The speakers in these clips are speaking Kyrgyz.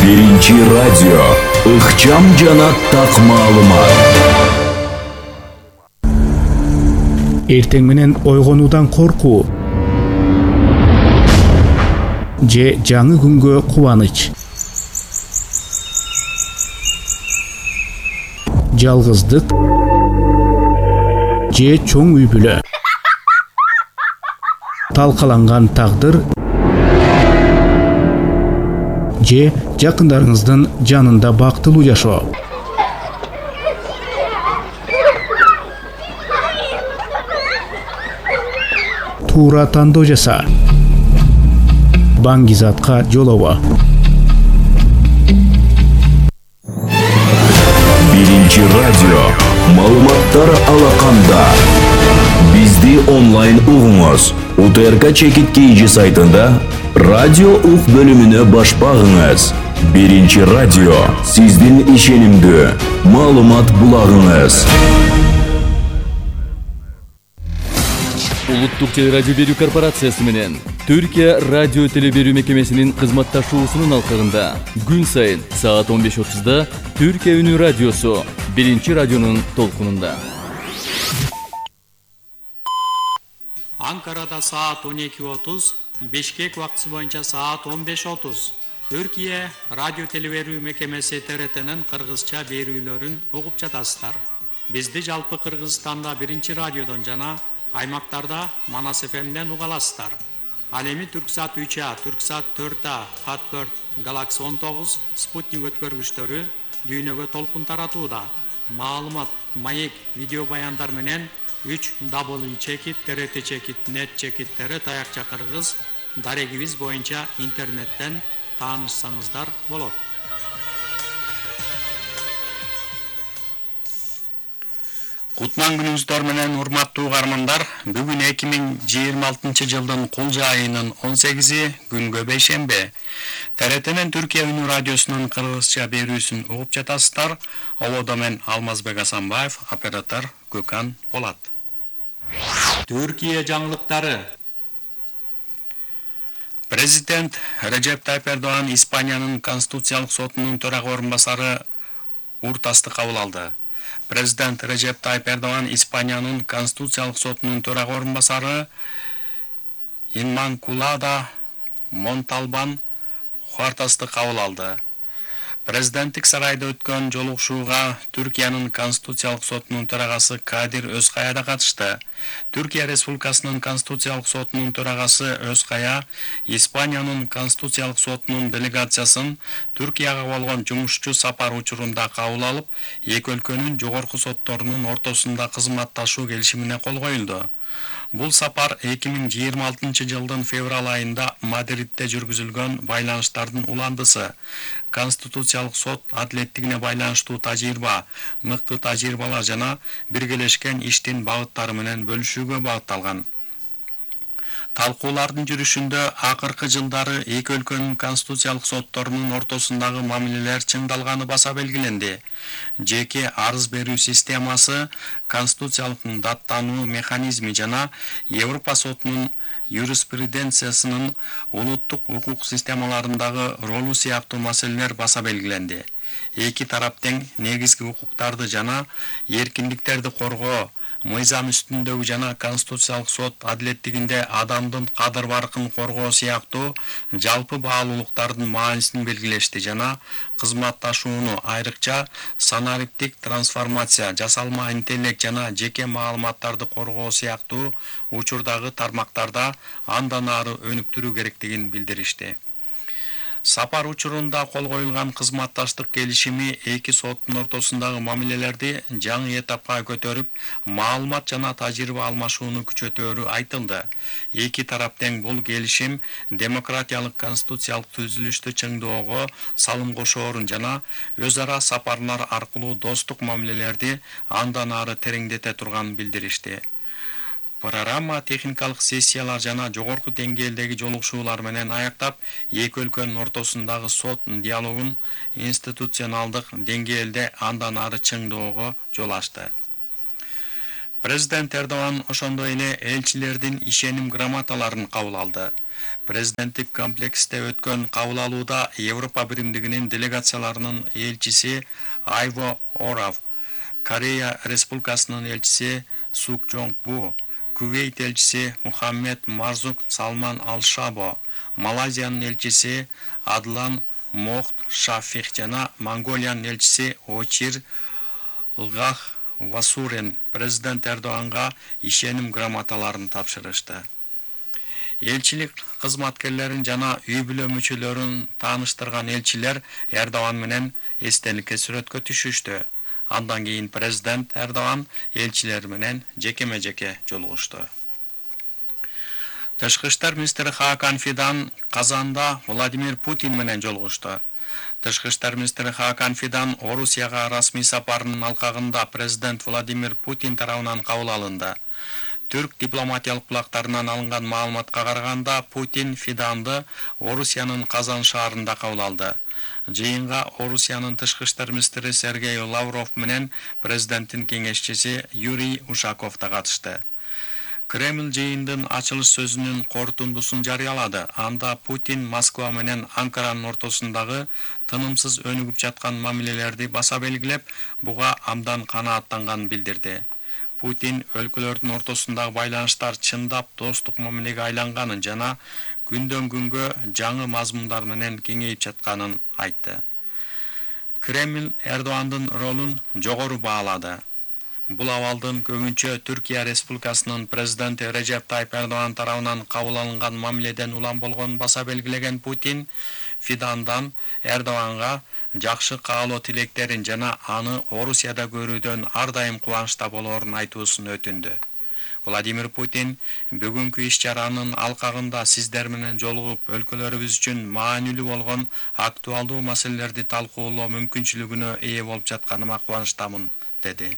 Биринчи радио. Ыкчам жана так маалымат. Эртең менен ойгонуудан коркуу же жаңы күнгө кубаныч. Жалгыздык же чоң үй бүлө. Талкаланган тагдыр же жакындарыңыздын жанында бактылуу жашоо. Туура тандоо жаса. Баңгизатка жолобо. Биринчи радио. Маалыматтар алаканда. Бизди онлайн угуңуз. УТРК Чекит KG сайтында радио ук бөлүмүнө баш багыңыз. Биринчи радио. Сиздин ишенимдүү маалымат булагыңыз. Улуттук телерадио берүү корпорациясы менен Түркия радио телеберүү мекемесинин кызматташуусунун алкагында күн сайын саат 15:30 Түркия үнү радиосу Биринчи радионун толкунунда. Анкарада саат 12:30, Бишкек убактысы боюнча саат 15:30. Түркия радио телеберүү мекемеси ТРТнын кыргызча берүүлөрүн угуп жатасыздар. Бизди жалпы Кыргызстанда Биринчи радиодон жана аймактарда Манас ФМден уга аласыздар. Ал эми Түрксат 3А, Түрксат 4А, Хатберт, Galaxy 19, Спутник өткөргүчтөрү дүйнөгө толкун таратууда. Маалымат, маек, видео баяндар менен 3W Чекит, TRT Чекит, Net Чекит, TRT Аякча Кыргыз дарегибиз боюнча интернеттен таанышсаңыздар болот. Кутман күнүңүздөр менен урматтуу угармандар, бүгүн 2026 жылдын Кулжа айынын 18 күнгө бейшембе. ТРТнин Түркия үнү радиосунун кыргызча берүүсүн угуп жатасыздар. Ободо мен Алмазбек Асанбаев, оператор Көкан Полат. Түркия жаңылыктары. Президент Режеп Тайып Эрдоган Испаниянын Конституциялык сотунун төрага орунбасары Уртасты кабыл алды. Президент Режеп Тайып Эрдоган Испаниянын Конституциялык сотунун төрага орунбасары Инманкулада Монталбан Хуартасты кабыл алды. Президенттик сарайда өткөн жолугушууга Түркиянын Конституциялык сотунун төрагасы Кадир Өзкая да катышты. Түркия Республикасынын Конституциялык сотунун төрагасы Өзкая Испаниянын Конституциялык сотунун делегациясын Түркияга болгон жумушчу сапар учурунда кабыл алып, эки өлкөнүн жогорку сотторунун ортосунда кызматташуу келишимине кол коюлду. Бул сапар 2026 жылдын февраль айында Мадридде жүргүзүлгөн байланыштардын уландысы. Конституциялык сот адилеттигине байланыштуу тажрыйба, мыкты тажрыйбалар жана биргелешкен иштин багыттары менен бөлүшүүгө багытталган. Талкуулардын жүрүшүндө акыркы жылдары эки өлкөнүн конституциялык сотторунун ортосундагы мамилелер чыңдалганы баса белгиленди. Жеке арыз берүү системасы, конституциялык даттануу механизми жана Европа сотунун юриспруденциясынын улуттук укук системаларындагы ролу сыяктуу маселелер баса белгиленди. Эки тарап тең негизги укуктарды жана эркиндиктерди коргоо, мыйзам үстүндөгү жана конституциялык сот адилеттигинде адамдын кадыр-баркын коргоо сыяктуу жалпы баалуулуктардын маанисин белгилешти жана кызматташууну, айрыкча санариптик трансформация, жасалма интеллект жана жеке маалыматтарды коргоо сыяктуу учурдагы тармактарда андан ары өнүктүрүү керектигин билдиришти. Сапар учурунда кол коюлган кызматташтык келишими эки соттун ортосундагы мамилелерди жаңы этапка көтөрүп, маалымат жана тажрыйба алмашууну күчөтөөрү айтылды. Эки тарап тең бул келишим демократиялык конституциялык түзүлүштү чыңдоого салым кошоорун жана өз ара сапарлар аркылуу достук мамилелерди андан ары тереңдете турганын билдиришти. Программа техникалык сессиялар жана жогорку деңгээлдеги жолугушуулар менен аяктап, эки өлкөнүн ортосундагы сот диалогун институционалдык деңгээлде андан ары чыңдоого жол ачты. Президент Эрдоган ошондой эле элчилердин ишеним грамоталарын кабыл алды. Президенттик комплексте өткөн кабыл алууда Европа биримдигинин делегацияларынын элчиси Айво Орав, Корея Республикасынын элчиси Сук Жонг Бу, Кувейт элчиси Мухаммед Марзук Салман Ал-Шабо, Малайзиянын элчиси Адлан Мохт Шафих жана Монголиянын элчиси Очир Лгах Васурен президент Эрдоганга ишеним грамоталарын тапшырышты. Элчилик кызматкерлерин жана үй бүлө мүчөлөрүн тааныштырган элчилер Эрдоган менен эстеликке сүрөткө түшүштү. Андан кийин президент Эрдоган элчилер менен жекеме-жеке жолугушту. Тышкы иштер министри Хакан Фидан Казанда Владимир Путин менен жолугушту. Тышкы иштер министри Хакан Фидан Орусияга расмий сапарынын алкагында президент Владимир Путин тарабынан кабыл алынды. Түрк дипломатиялык булактарынан алынган маалыматка караганда, Путин Фиданды Орусиянын Казан шаарында кабыл алды. Жыйынга Орусиянын тышкы иштер министри Сергей Лавров менен президенттин кеңешчиси Юрий Ушаков да катышты. Кремль жыйындын ачылыш сөзүнүн корутундусун жарыялады. Анда Путин Москва менен Анкаранын ортосундагы тынымсыз өнүгүп жаткан мамилелерди баса белгилеп, буга абдан канааттанганын билдирди. Путин өлкөлөрдүн ортосундагы байланыштар чындап достук мамилеге айланганын жана күндөн күнгө жаңы мазмундар менен кеңейип жатканын айтты. Кремль Эрдогандын ролун жогору баалады. Бул абалдын көбүнчө Түркия Республикасынын президенти Режеп Тайып Эрдоган тарабынан кабыл алынган мамиледен улам болгонун баса белгилеген Путин Фидандан Эрдоганга жакшы каалоо тилектерин жана аны Орусияда көрүүдөн ар дайым кубанычта болоорун айтуусун өтүндү. Владимир Путин бүгүнкү иш-чаранын алкагында сиздер менен жолугуп өлкөлөрүбүз үчүн маанилүү болгон актуалдуу маселелерди талкуулоо мүмкүнчүлүгүнө ээ болуп жатканыма кубанычтамын, деди.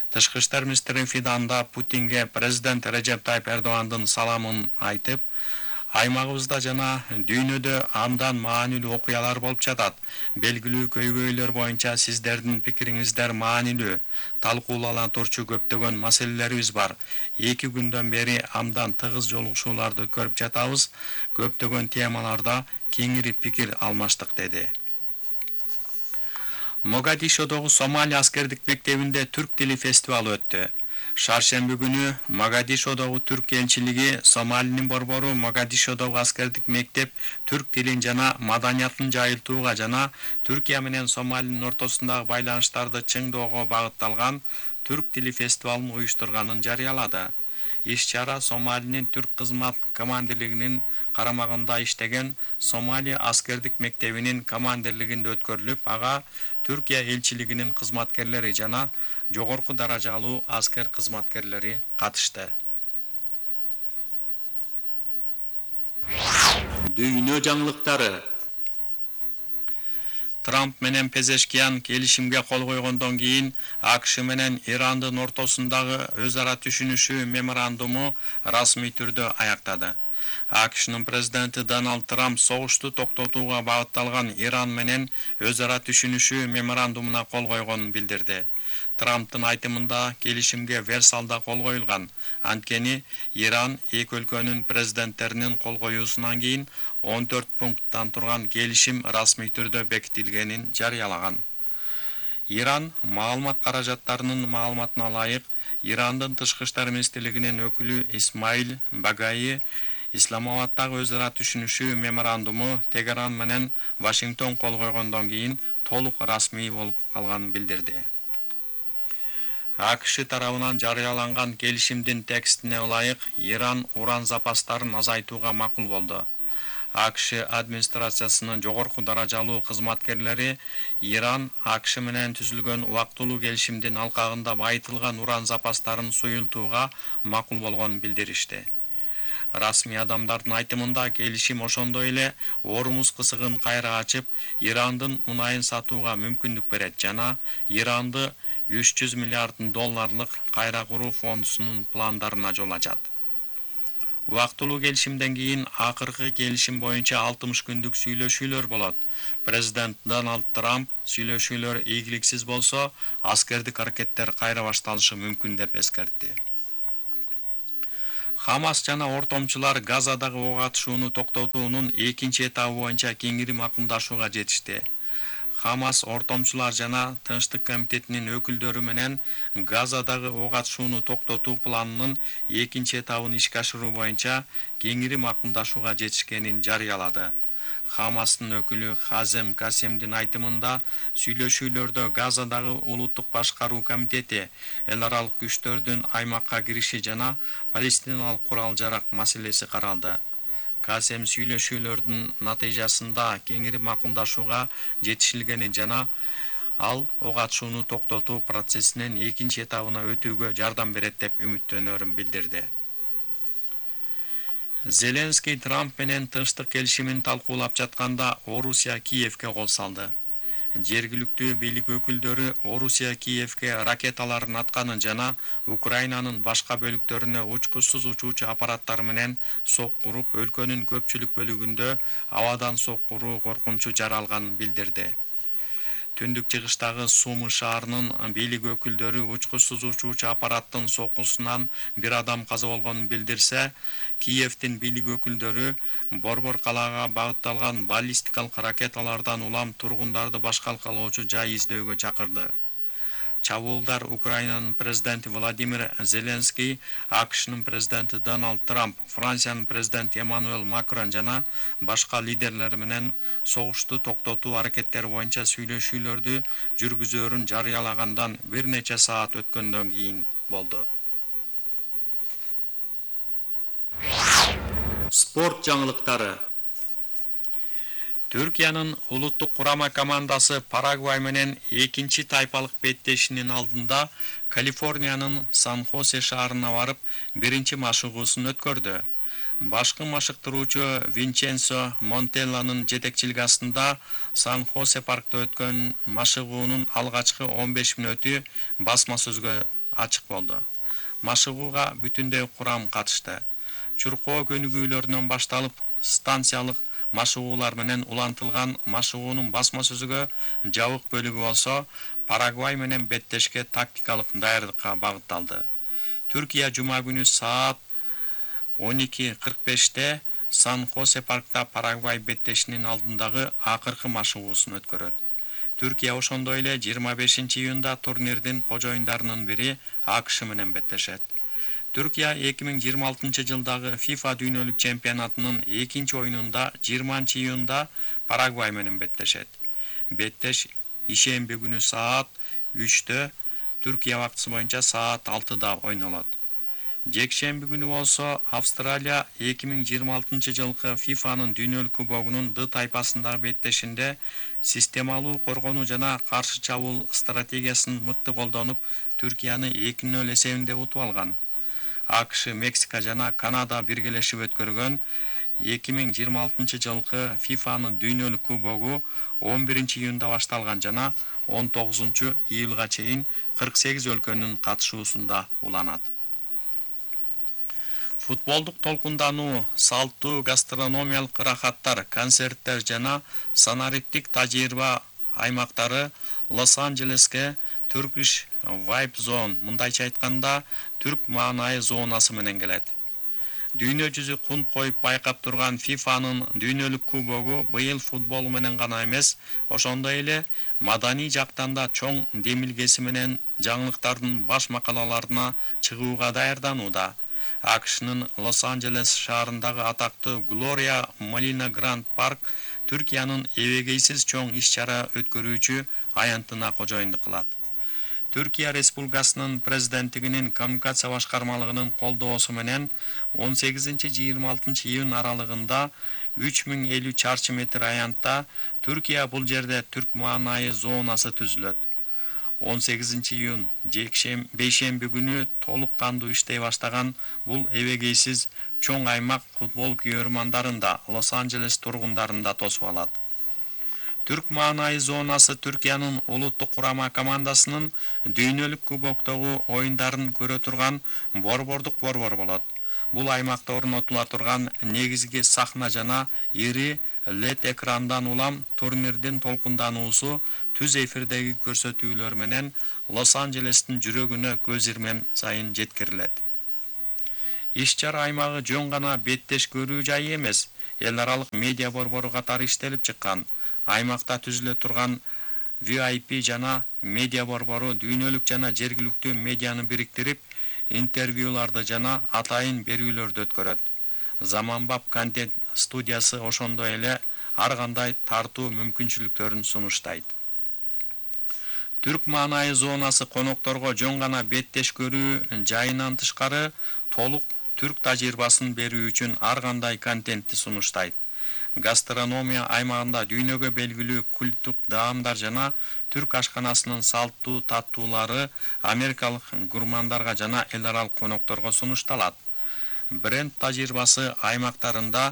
Тышкы иштер министри Фиданда Путинге президент Режеп Тайып Эрдогандын саламын айтып, аймагыбызда жана дүйнөдө абдан маанилүү окуялар болуп жатат. Белгилүү көйгөйлөр боюнча сиздердин пикириңиздер маанилүү. Талкуулана турчу көптөгөн маселелерибиз бар. 2 күндөн бери абдан тыгыз жолугушууларды көрүп жатабыз. Көптөгөн темаларда кеңири пикир алмаштык, деди. Могадишодогу Сомали аскердик мектебинде түрк тили фестивалы өттү. Шаршемби күнү Могадишодогу түрк элчилиги Сомалинин борбору Могадишодогу аскердик мектеп түрк тилин жана маданиятын жайылтууга жана Түркия менен Сомалинин ортосундагы байланыштарды чыңдоого багытталган түрк тили фестивалын уюштурганын жарыялады. Иш-чара Сомалинин түрк кызмат командирлигинин карамагында иштеген Сомали аскердик мектебинин командирлигинде өткөрүлүп, ага Түркия элчилигинин кызматкерлери жана жогорку даражалуу аскер кызматкерлери катышты. Дүйнө жаңылыктары. Трамп менен Пезешкиян келишимге кол койгондон кийин АКШ менен Ирандын ортосундагы өз ара түшүнүшүү меморандуму расмий түрдө аяктады. АКШнын президенти Дональд Трамп согушту токтотууга багытталган Иран менен өз ара түшүнүшүү меморандумуна кол койгонун билдирди. Трамптын айтымында келишимге Версалда кол коюлган. Анткени Иран эки өлкөнүн президенттеринин кол коюусунан кийин 14 пункттан турган келишим расмий түрдө бекитилгенин жарыялаган. Иран маалымат каражаттарынын маалыматына ылайык, Ирандын тышкы иштер министрлигинин өкүлү Исмаил Багаи Исламабадтагы өз ара түшүнүшүү меморандуму Тегеран менен Вашингтон кол койгондон кийин толук расмий болуп калганын билдирди. АКШ тарабынан жарыяланган келишимдин текстине ылайык, Иран уран запастарын азайтууга макул болду. АКШ администрациясынын жогорку даражалуу кызматкерлери Иран АКШ менен түзүлгөн убактылуу келишимдин алкагында байытылган уран запастарын суюлтууга макул болгонун билдиришти. Расмий адамдардын айтымында келишим ошондой эле Ормуз кысыгын кайра ачып, Ирандын мунайын сатууга мүмкүндүк берет жана Иранды $300 миллиард кайра куруу фондусунун пландарына жол ачат. Убактылуу келишимден кийин акыркы келишим боюнча 60 күндүк сүйлөшүүлөр болот. Президент Дональд Трамп сүйлөшүүлөр ийгиликсиз болсо, аскердик аракеттер кайра башталышы мүмкүн деп эскертти. Хамас жана ортомчулар Газадагы ок атышууну токтотуунун экинчи этабы боюнча кеңири макулдашууга жетишти. Хамас ортомчулар жана Тынчтык комитетинин өкүлдөрү менен Газадагы ок атышууну токтотуу планынын экинчи этабын ишке ашыруу боюнча кеңири макулдашууга жетишкенин жарыялады. Хамастын өкүлү Хазем Касемдин айтымында, сүйлөшүүлөрдө Газадагы улуттук башкаруу комитети, эл аралык күчтөрдүн аймакка кириши жана палестиналык курал-жарак маселеси каралды. Касем сүйлөшүүлөрдүн натыйжасында кеңири макулдашууга жетишилгенин жана ал ок атышууну токтотуу процессинин экинчи этабына өтүүгө жардам берет деп үмүттөнөрүн билдирди. Зеленский Трамп менен тынчтык келишимин талкуулап жатканда Орусия Киевге кол салды. Жергиликтүү бийлик өкүлдөрү Орусия Киевге ракеталарын атканын жана Украинанын башка бөлүктөрүнө учкучсуз учуучу аппараттар менен сокку уруп, өлкөнүн көпчүлүк бөлүгүндө абадан сокку уруу коркунучу жаралганын билдирди. Түндүк чыгыштагы Сумы шаарынын бийлик өкүлдөрү учкучсуз учуучу аппараттын соккусунан бир адам каза болгонун билдирсе, Киевдин бийлик өкүлдөрү Борбор калаага багытталган баллистикалык ракеталардан улам тургундарды башкалкалоочу жай издөөгө чакырды. Чабуулдар Украинанын президенти Владимир Зеленский, АКШнын президенти Дональд Трамп, Франциянын президенти Эммануэл Макрон жана башка лидерлер менен согушту токтотуу аракеттери боюнча сүйлөшүүлөрдү жүргүзөөрүн жарыялагандан бир нече саат өткөндөн кийин болду. Спорт жаңылыктары. Түркиянын улуттук курама командасы Парагвай менен экинчи тайпалык беттешинин алдында Калифорниянын Сан-Хосе шаарына барып, биринчи машыгуусун өткөрдү. Башкы машыктыруучу Винченцо Монтелланын жетекчилиги астында Сан-Хосе паркта өткөн машыгуунун алгачкы 15 мүнөтү басма сөзгө ачык болду. Машыгууга бүтүндөй курам катышты. Чуркоо көнүгүүлөрүнөн башталып, станциялык машыгуулар менен улантылган машыгуунун басма сөзүгө жабык бөлүгү болсо, Парагвай менен беттешке тактикалык даярдыкка багытталды. Түркия жума күнү саат 12:45 Сан-Хосе паркта Парагвай беттешинин алдындагы акыркы машыгуусун өткөрөт. Түркия ошондой эле 25 июнда турнирдин кожоюндарынын бири АКШ менен беттешет. Түркия 2026 жылдагы FIFA дүйнөлүк чемпионатынын экинчи оюнунда 20 июнда Парагвай менен беттешет. Беттеш ишемби күнү саат 3-тө, Түркия убактысы боюнча саат 6-да ойнолот. Жекшемби күнү болсо Австралия 2026 жылкы FIFAнын дүйнөлүк кубогунун Д тайпасындагы беттешинде системалуу коргонуу жана каршы чабуул стратегиясын мыкты колдонуп, Түркияны 2-0 эсебинде утуп алган. АКШ, Мексика жана Канада биргелешип өткөргөн 2026 жылкы FIFAнын дүйнөлүк кубогу 11 июнда башталган жана 19 июлга чейин 48 өлкөнүн катышуусунда уланат. Футболдук толкундануу, салттуу гастрономиялык ырахаттар, концерттер жана санариптик тажрыйба аймактары Лос-Анджелеске Turkish Vibe Zone, мындайча айтканда, түрк маанайы зонасы менен келет. Дүйнө жүзү кун коюп байкап турган FIFAнын дүйнөлүк кубогу быйыл футбол менен гана эмес, ошондой эле маданий жактан да чоң демилгеси менен жаңылыктардын баш макалаларына чыгууга даярданууда. АКШнын Лос-Анджелес шаарындагы атактуу Gloria Molina Grand Park Түркиянын эбегейсиз чоң иш-чара өткөрүүчү аянтына кожоюндук кылат. Түркия Республикасынын президенттигинин коммуникация башкармалыгынын колдоосу менен 18-26 июнь аралыгында 3050 чарчы метр аянтта Түркия бул жерде түрк маанайы зонасы түзүлөт. 18 июнь бейшемби күнү толук кандуу иштей баштаган бул эбегейсиз чоң аймак футбол күйөрмандарын да Лос-Анджелес тургундарын да тосуп алат. Түрк маанайы зонасы Түркиянын улуттук курама командасынын дүйнөлүк кубоктогу оюндарын көрө турган борбордук борбор болот. Бул аймакта орнотула турган негизги сахна жана ири LED экрандан улам турнирдин толкундануусу түз эфирдеги көрсөтүүлөр менен Лос-Анджелестин жүрөгүнө көз ирмем сайын жеткирилет. Иш-чара аймагы жөн гана беттеш көрүү жайы эмес, эл аралык медиа борбору катары иштелип чыккан. Аймакта түзүлө турган VIP жана медиа борбору дүйнөлүк жана жергиликтүү медианы бириктирип, интервьюларды жана атайын берүүлөрдү өткөрөт. Заманбап контент студиясы ошондой эле ар кандай тартуу мүмкүнчүлүктөрүн сунуштайт. Түрк маанайы зонасы конокторго жөн гана беттеш көрүү жайынан тышкары толук түрк тажрыйбасын берүү үчүн ар кандай контентти сунуштайт. Гастрономия аймагында дүйнөгө белгилүү культтук даамдар жана түрк ашканасынын салттуу таттуулары америкалык гурмандарга жана эл аралык конокторго сунушталат. Бренд тажрыйбасы аймактарында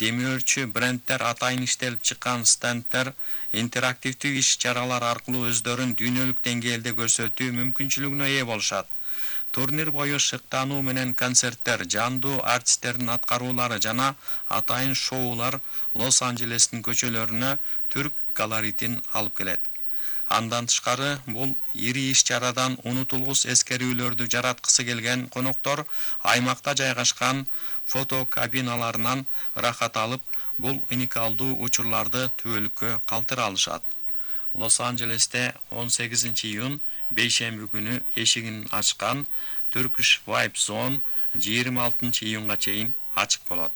демөөрчү брендтер атайын иштелип чыккан стендтер, интерактивдүү иш-чаралар аркылуу өздөрүн дүйнөлүк деңгээлде көрсөтүү мүмкүнчүлүгүнө ээ болушат. Турнир бою шыктануу менен концерттер, жандуу артисттердин аткаруулары жана атайын шоулар Лос-Анджелестин көчөлөрүнө түрк колоритин алып келет. Андан тышкары бул ири иш-чарадан унутулгус эскерүүлөрдү жараткысы келген коноктор аймакта жайгашкан фотокабиналарынан ырахат алып, бул уникалдуу учурларды түбөлүккө калтыра алышат. Лос-Анджелесте 18 июнь бейшемби күнү эшигин ачкан Turkish Vibe Zone 26 июнга чейин ачык болот.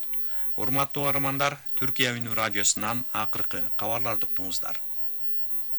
Урматтуу каармандар, Түркия үнү радиосунан акыркы кабарларды уктуңуздар.